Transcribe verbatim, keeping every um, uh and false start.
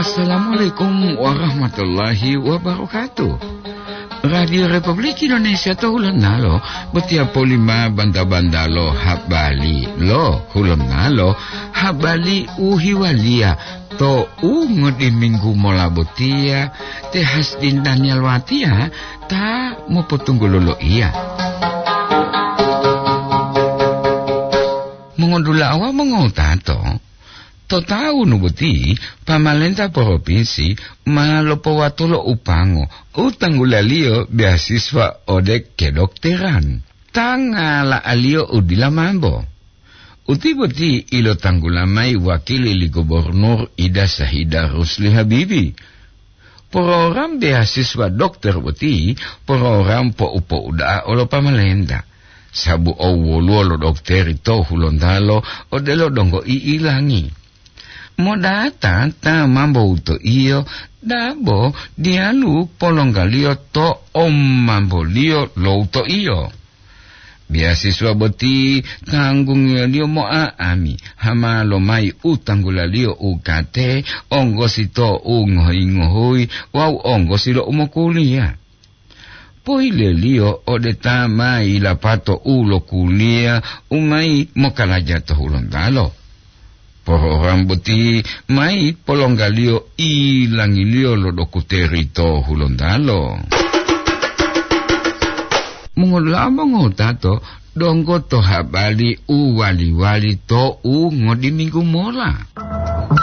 Assalamualaikum warahmatullahi wabarakatuh. Radio Republik Indonesia to Hulonalo botiya polima banta-banta lo habari lo Hulonalo, habari u hiwaliya to u ngodi minggu mola botiya, te Hasdin Daniel Watiya ta mopotunggulo loiya. Mongodula'a wawu mongotato, to tawunu boti, pamalenta poropinsi ma lopowatulo upango u tanggulaliyo beasiswa ode kedokteran. Ta ngala'aliyo u dila mambo. Uti boti ilotanggula mayi wakili li Gubernur Ida Sahida Rusli Habibi. Program beasiswa dokter boti program po'u-po'u da'a olo pamalenta, sabu owoluwo lo dokteri to Hulontalo odelo donggo i'ilangi. Modata ta mambo wutoiyo, dabo diyalu polonggaliyo to omamboliyo lo wutoiyo. Beasiswa boti tanggungiyoliyo mo'a'ami, hama lomayi u tanggulaliyo u kate, onggosi to u ngohi-ngohuyi wawu onggosi lo u mokuliya. Pohileliyo ode ta ma yilapato u lokuliya u mayi mokalaja to Hulontalo. Program boti mayi polonggaliyo ilangiliyo lo dokuteri to Hulontalo. Mongolamo ngotato donggo to habari u wali-wali to u ngodiminggu mola.